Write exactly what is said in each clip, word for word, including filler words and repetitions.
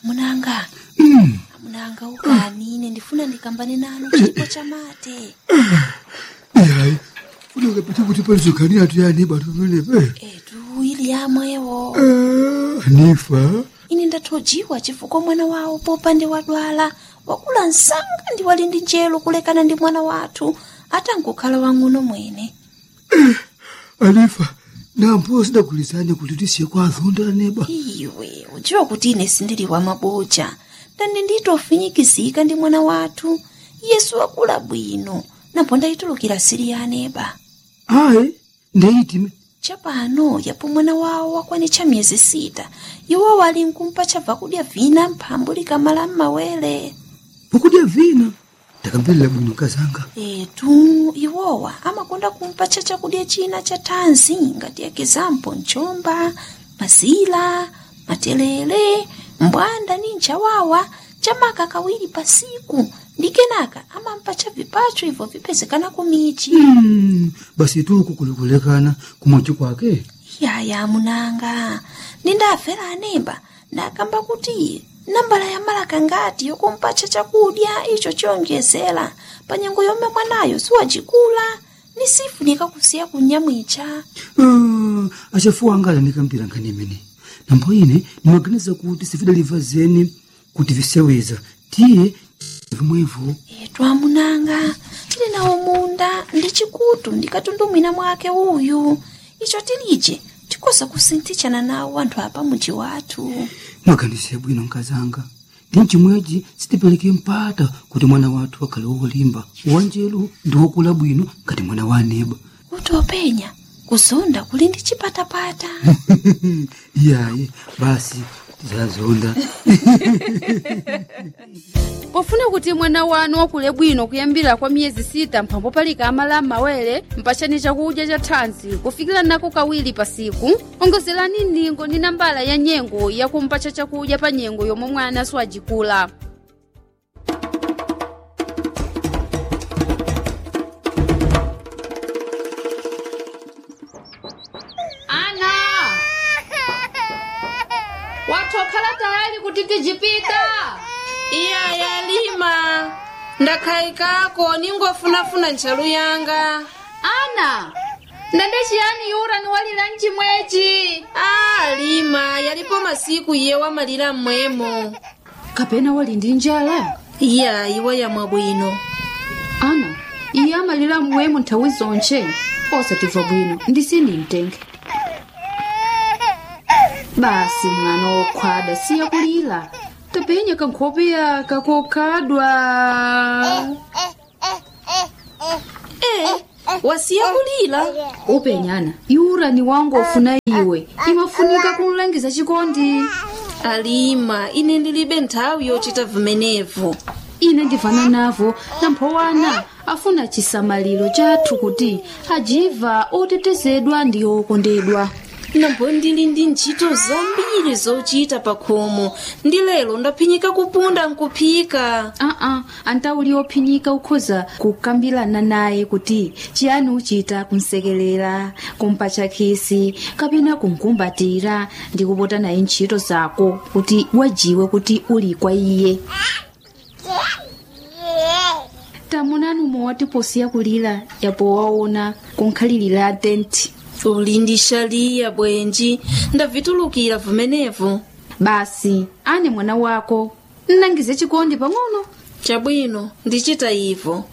Amunanga, amunanga ukani ine ndifuna ndikambane nanu chipo chamate. Eyi, funeka phethe ukuthi palizogani yathu yani bantu bene Etu ili yamwewo nifa. Ine ndathojiwa chifukwa mwana wawo popande wadwala wakula msanga ndi wali ndi njelo kulekana ndi mwana wathu atangokhala wang'ono mwene. Anifa, nampo sidagulizane kuti tisiye kwa azonda neba. Iwe udziwa kuti ine sindili wa maboja ndani nditofinyikizika ndi mwana wathu Yesu wakula bwino napo ndayitulukira sili ya aneba. Ayi, ndeyitime. Chapano yapo mwana wawo wakwanitcha miyezi sita, iwo wali nkumpa chabva kudya vina mphambu likamala m'mawere. Pokudya vina ndakamvelera bwino kazanga. Etu iwowa amakonda kumpatcha chakudya china cha thanzi ngati ekizampo mchomba, mazila, matelele, mbwanda ni nchawawa chamaka kawiri pasiku ndi kenaka amampatcha vipacho ibvo vipezekana kumichi. Mm, basi tuku kulikulekana kumwachi kwake. Yaya munanga, nindafera anemba ndakamba kuti nambala ya malaka ngati yokumpatcha chakudya icho chiyonjezera pa nyengo yomwe mwanayo siwacikula ni sifunika kusiya kunyamwicha. Ah, achafuwa anga anikambira nkhani imene nambo ine nimaganiza kuti sifidaliva zeni kuti viseweza tiye vimwevo. Etu amunanga, tili nawo munda ndi chikutu ndikatundumwina mwake uyu icho tilije tikoza kusinthitshana nawo anthu apa muji wathu. Mwaganize bwino nkazanga, ndi mchimwechi sitipereke mpata kuti mwana wathu akhale wolimba wanjelu ndi wokula bwino ngati mwana wa aneba. Kuti openya kuzonda kuli ndi chipatapata. Iyayi, basi tizazonda. Pofuna kuti mwana wanu wakule bwino kuyambira kwa miyezi sita mphambo palika amala m'mawere mpachani chakudya cha thanzi kufikira nako kawiri pasiku, ongozerani ndingo ndi nambala ya nyengo yakumpatcha chakudya pa nyengo yomwe mwana siwajikula. Ana, wathokhala tayali kuti tijipita? Iya yalima, ndakhayikako ningofunafuna ntchalu yanga. Ana, ndende chiyani yura niwalira mchimwechi? A lima, yalipo masiku iye wamalira mmwemo. Kapena wali ndi njala? Iya, iwa yamwa bwino. Ana, iye amalira mmwemo nthawi zonche osatimva bwino ndisini mtenge. Basi mwana wokhwada siya kulira, tapenya kankhope yaka kokhadwa. E, wasiya kulira. Upenyana yura ni wangu ofuna iwe imafunika kumlangiza chikondi. Alima, ine ndilibe nthawi yochita vimenevo. Ine ndivana navo namphowana afuna chisamaliro chathu kuti ajiva otetezedwa ndi okondedwa. Nambo ndili ndi ntchito zambiri zochita pa khomo, ndi lero ndaphinyika kupunda nkuphika. Aa, antauli ophinyika ukhoza kukambirana naye kuti chiyani uchita kumsekelera, kumpatcha khisi kapena kumkumbatira ndi kupota naye ntchito zako kuti wajiwe kuti uli kwa iye. Tamunani umwe watiposiya kulira yapo waona kunkhalirira tenti. Uli ndi shaliya bwenji, ndavitulukira vimenevo. Basi ane mwana wako nnangize chikondi pang'ono. Chabwino, ndichita ivo.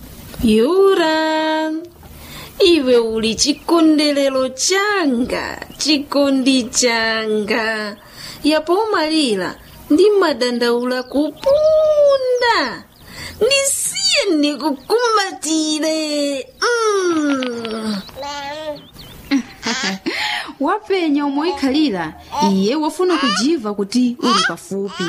Yura, iwe uli chikondelero changa, chikondi changa. Yapo umalira ndi madandaula kupunda. Ndisiye ndikukumbatire. Mm. Wapenya umoikhalira iye wafuna kujiva kuti uli pafupi.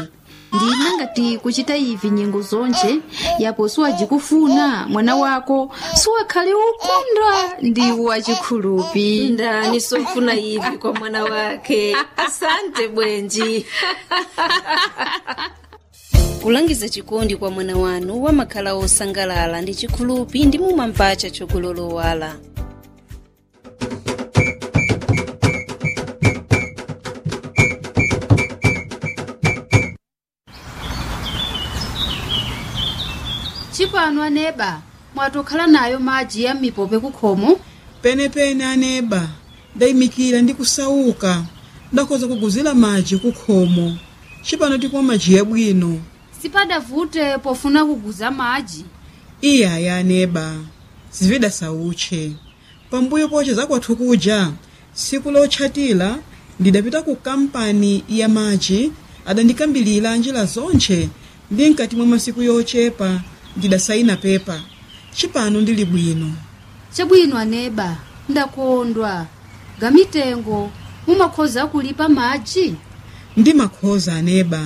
Ndina ngati kuchita ivi nyengo zonje yapo siwajikufuna mwana wako siwakhale ukunda ndi wachikhulupi. Ndani sofuna ivi kwa mwana wake. Asante bwenji. Kulangiza chikondi kwa mwana wanu wamakhala osangalala ndi chikhulupi ndi mumampacha chokulolowala. Chipano aneba, mwatokhala nayo madzi ya mipope kukhomo. Penepene aneba, ndayimikira ndi kusauka. Ndakhoza kuguzira madzi kukhomo. Chipano tikumwa madzi yabwino. Sipadavute pofuna kuguza madzi. Iyaya aneba, zividasauche. Pambuyo poche zakwathu kuja tsiku lotchatira ndidapita ku kampani ya madzi, adandikambilira njira zonche, ndi mkati mwa masiku yochepa ndidasaina pepa. Chipano ndili bwino. Chabwino aneba, ndakondwa. Gamitengo mumakhoza kulipa madzi? Ndimakhoza aneba.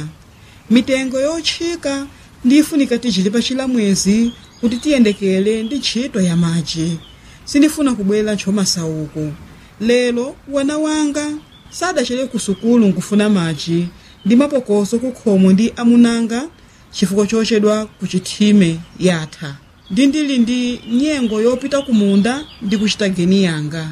Mitengo yotchika ndifunika tichilipa chilamwezi kuti tiyendekere ndi ntchito ya madzi. Sindifuna kubwera ntchomasauko. Lero wana wanga sadachere ku sukulu nkufuna madzi ndi mapokoso kukhomo ndi amunanga chifukwa chochedwa ku chithime yatha. Ndi ndili ndi nyengo yopita kumunda ndi kuchita geni yanga.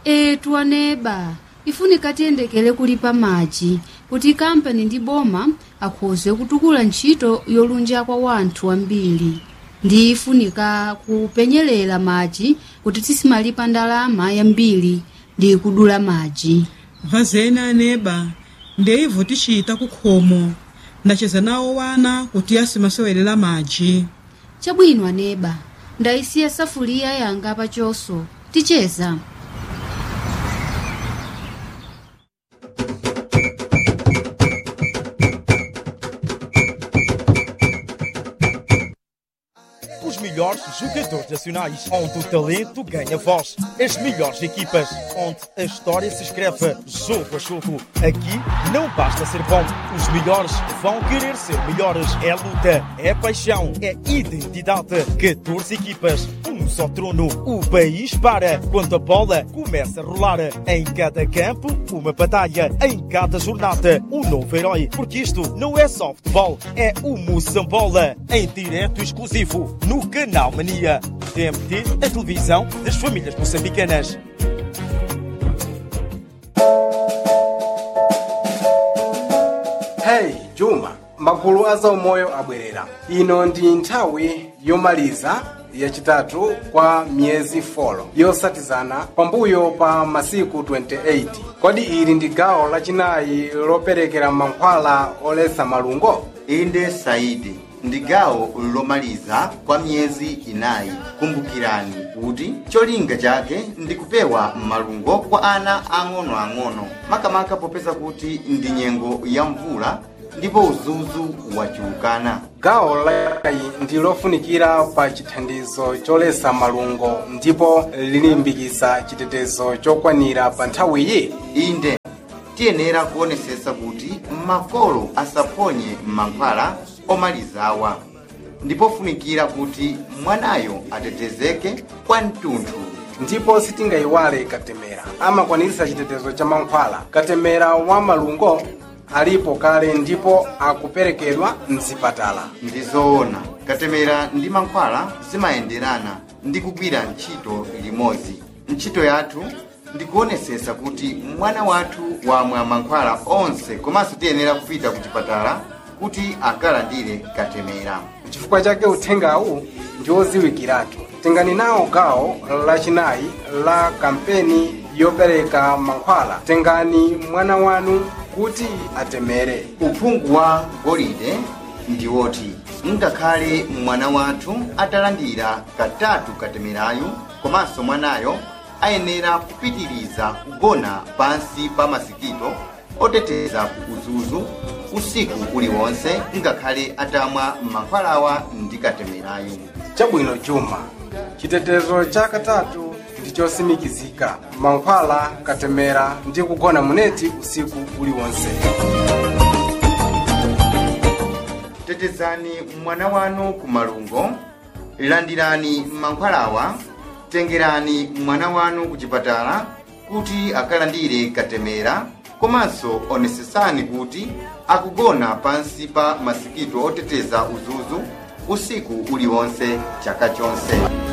Etu aneba, ifunika tiyendekere kulipa madzi kuti kampani ndi boma akhoze kutukula ntchito yolunja kwa wanthu ambiri. Ndi ifunika kupenyerera madzi kuti tisimalipa ndalama yambiri ndi kudula madzi. Vazeni aneba, ndeivo tichita kukhomo. Ndacheza nawo wana kuti asimasewelera madzi. Chabwino aneba, ndayisiya safuliya yanga pachoso, ticheza. Os melhores jogadores nacionais, onde o talento ganha voz. As melhores equipas, onde a história se escreve jogo a jogo. Aqui não basta ser bom, os melhores vão querer ser melhores. É luta, é paixão, é identidade. catorze equipas, um só trono. O país para quando a bola começa a rolar. Em cada campo, uma batalha. Em cada jornada, um novo herói. Porque isto não é só futebol, é o Moçambola. Em direto exclusivo no Canal Mania. T M T, a televisão das famílias moçambicanas. Hey Juma, magulu a zaumoyo abwerera. Ino ndi nthawi yomaliza yachitatu kwa miyezi folo yosatizana pambuyo pa masiku makumi awiri ndi zisanu ndi atatu. Kodi ili ndi gawo lachinayi loperekera mankhwala oletsa malungo? Inde Saidi, ndi gawo lomaliza kwa miyezi inayi. Kumbukirani kuti cholinga chake ndi kupewa malungo kwa ana ang'onoang'ono, makamaka popeza kuti ndi nyengo ya mvula ndipo udzudzu wachulukana. Gawo layi ndi lofunikira pa chithandizo choletsa malungo ndipo lilimbikitsa chitetezo chokwanira pa nthawiyi. Inde tiyenera kuonesesa kuti makolo asaphonye mankhwala omalizawa, ndipo funikira kuti mwanayo atetezeke kwa mtunthu. Ndipo sitingayiwale katemera amakwanitsa chitetezo cha mankhwala. Katemera wa malungo alipo kale ndipo akuperekedwa mzipatala. Ndizoona, katemera ndi mankhwala zimayenderana ndi kugwira ntchito limodzi. Ntchito yathu ndikuonesesa kuti mwana wathu wamwa mankhwala onse, komanso tiyenera kupita ku chipatala kuti akalandire katemera. Chifukwa chake uthengawu ndi oziwikiratu. Tengani nawo gawo lachinayi la kampeni yopereka mankhwala. Tengani mwana wanu kuti atemere. Uphungu wa golide ndi woti ngakhale mwana wathu atalandira katatu katemerayu, komanso mwanayo ayenera kupitiriza kugona pansi pa masikito oteteza ku udzudzu usiku uliwonse ngakhale atamwa mankhwalawa ndi katemerayu. Chabwino Juma, chitetezo cha katatu ndi chosimikizika. Mankhwala, katemera ndi kugona muneti usiku uliwonse. Tetezani mwana wanu ku malungo, landirani mankhwalawa, tengerani mwana wanu ku chipatala kuti akalandire katemera, komanso onesesani kuti akugona pansi pa masikito oteteza udzudzu usiku uliwonse chaka chonse.